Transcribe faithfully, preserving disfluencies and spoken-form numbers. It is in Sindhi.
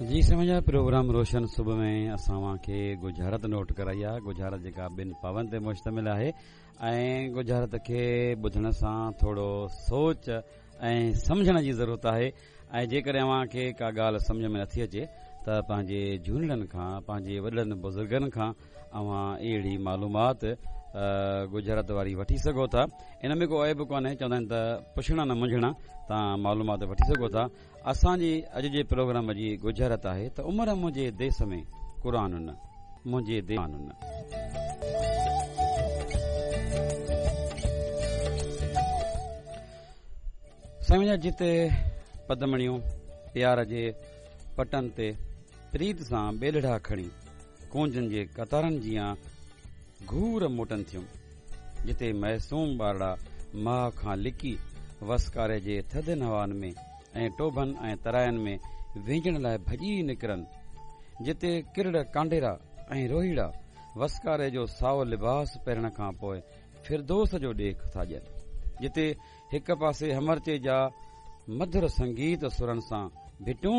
جي سمجها پروگرام روشن صبح ۾ اسان اوهان کي ڳجهارت نوٽ ڪرائي آهي. ڳجهارت جيڪا ٻن پاون تي مشتمل آهي ۽ ڳجهارت کي ٻڌڻ سان ٿورو سوچ ۽ سمجهڻ جي ضرورت آهي ۽ جيڪڏهن اوهان کي ڪا ڳالهه سمجهه ۾ نٿي اچي ته پنهنجي جهونڙن کان، پنهنجي وڏڙن بزرگن کان اوهان اهڙي معلومات ڳجهارت واري وٺي سگهو ٿا. ان ۾ ڪو عيب ڪونهي، چوندا آهن ته پڇڻا نه منجهڻا، توهان معلومات وٺي سگهو ٿا. اسان جي اڄ جي پروگرام جي ڳجهارت آهي ته عمر منهنجي ديس ۾ قرآن نه، منهنجي ديس نه. سائين جتي پدمڻيون پيار جي پٽن تي پريت سان ٻيلڙا کڻي ڪونجن جي قطارن جيان گهور موٽن ٿيون، جتي معصوم ٻارڙا ماءُ کان لڪي وسڪاري جي ٿڌين هوائن ۾ ۽ ٽوڀن ۽ تراين ۾ وهنجڻ لاءِ ڀڄي نڪرن، جتي ڪرڙ ڪانڊيرا ۽ روهيڙا وسڪاري جو سائو لباس پهرڻ کان پوءِ فردوس جو ڏيک ٿا ڏين، جتي هڪ پاسي همرچي جا مڌر سنگيت سرن سان ڀٽون